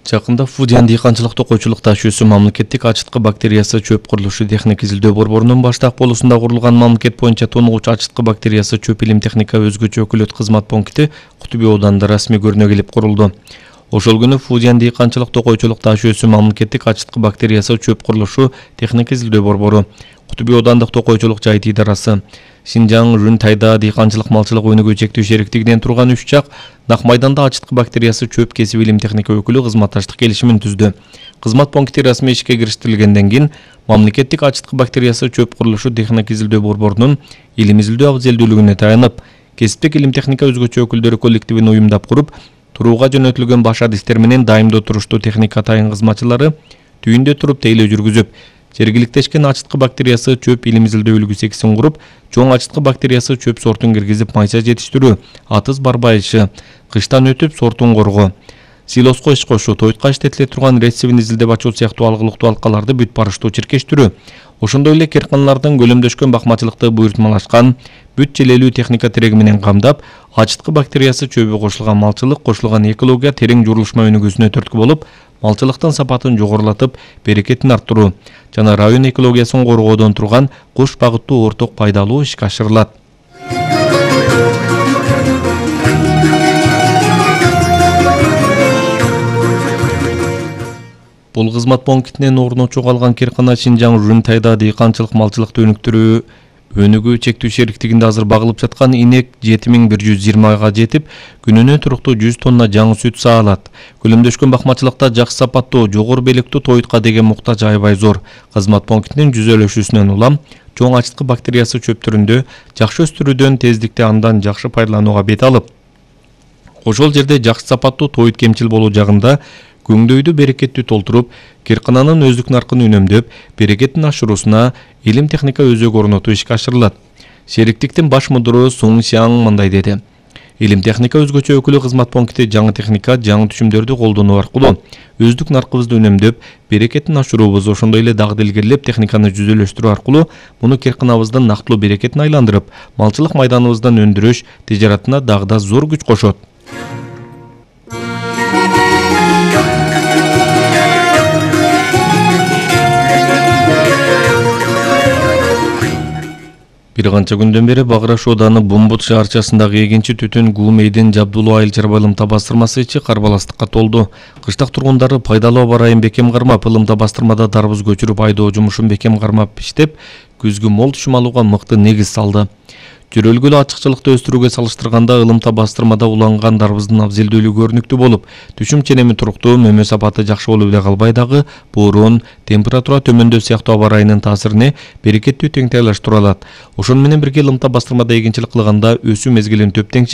Жакында Фудиян дыйканчылык токойчулук ташуусу мамлекеттик ачыткы бактериясы чөп курулушу техник изилдөө борборунун Баштак болусунда курулган мамлекет боюнча тонугуч ачыткы бактериясы чөп илим техника өзгөчө өкүлөт кызмат пункти Кутуби ауданында расмий көрүнө келип курулду. Ошол күнү Фудиян дыйканчылык токойчулук ташуусу мамлекеттик ачыткы бактериясы чөп курулушу техник изилдөө борбору, Кутуби аудандык токойчулук жайыт идарасы, Шинжаң Рүн-Тайда дыйканчылык малчылык өнүгүү чектөө шериктигинен турган 3 жак Нак майданда ачыткы бактериясы чөп кесип илим техника өкүлү кызматташтык келишимин түздү. Кызмат пункти расмий ишке кириштирилгенден кийин мамлекеттик ачыткы бактериясы чөп курулушу техник изилдөө борборунун илим изилдөө абзелдүүлүгүнө таянып, кесиптик илим техника өзгөчө өкүлдөрү коллективин уюмдап куруп, турууга жөнөтүлгөн баш адистер менен дайымдуу туруштуу техника тайын кызматчылары түйүндө туруп тейлөө жүргүзүп, жергиликтешкен ачыткы бактериясы чөп илим изилдөө үлгү сексин куруп, чоң ачыткы бактериясы чөп сортун киргизип майса жетиштирүү, атыз барбайышы, кыштан өтүп сортун коргоо, силоско иш кошуу, тойтка иштетиле турган рецепин изилдеп ачуу сыяктуу алгылыктуу алкаларды бүт барыштуу чиркештирүү, ошондой эле керканалардын көлөмдөшкөн бакмачылыкты буйртмалашкан, бүт желелүү техника тиреги менен камдап, ачыткы бактериясы чөбү кошулган малчылык, кошулган экология терең журулушма өнүгүүсүнө түрткү болуп, малчылыктын сапатын жогорулатып, берекетин арттыруу жана район экологиясын коргоодон турган кош багыттуу орток пайдалуу ишке ашырылат. Бул кызмат пунктинен орночу калган керкана Шинжаң Рүн-Тайда дыйканчылык малчылыкты өнүгүү чектөө шериктигинде азыр багылып жаткан инек 7120 жетип, күнүнө туруктуу 100 тонна жаңы сүт саалат. Көлөмдөшкөн бакмачылыкта жакшы сапаттуу, жогору белектүү тойтка деген муктаж аябай зор. Кызмат пунктинин жүзөлөшүүсүнөн улам чоң ачыткы бактериясы чөптөрүндө жакшы өстүрүүдөн тездикте андан жакшы пайдаланууга бет алып, ошол жерде жакшы сапаттуу тойт кемчил болуу жагында көңдөйдү берекеттүү толтуруп, керкананын өздүк наркын үнөмдөп, берекетин ашыруусуна илим техника өзөк орнотуу ишке ашырылат. Шериктиктин баш мудуру Суң Сяң мындай деди. Илим техника өзгөчө өкүлү кызмат пункти жаңы техника, жаңы түшүмдөрдү колдонуу аркылуу өздүк наркыбызды үнөмдөп, берекетин ашыруубуз, ошондой эле дагы илгерилеп техниканы жүзөлөштүрүү аркылуу муну керканабыздын нактылуу берекетин айландырып, малчылык майданыбыздан өндүрүш тижаратына дагы да зор күч кошот. Бир канча күндөн бери Баграш ооданы Бумбут шаарчасындагы эгинчи түтүн Гумейдин Жабдулуу айыл чарба ылымта бастырмасы ичи карбаластыкка толду. Кыштак тургундары пайдалуу аба ырайын бекем кармап, ылымта бастырмада дарбыз көчүрүп айдоо жумушун бекем кармап иштеп, күзгү мол түшүм алууга мыкты негиз салды. Жөрөлгүлүү ачыкчылыкты өстүрүүгө салыштырганда ылымта бастырмада уланган дарбыздын абзелдүүлүгү көрүнүктүү болуп, түшүм ченеми туруктуу, мөмө сапаты жакшы болуп эле калбай дагы боорун, температура төмөндөө сыяктуу аба ырайынын таасирине берекеттүү теңтайлаштыра алат. Ошону менен бирге ылымта бастырмада эгинчилик кылганда өсүү мезгилин төптеңчи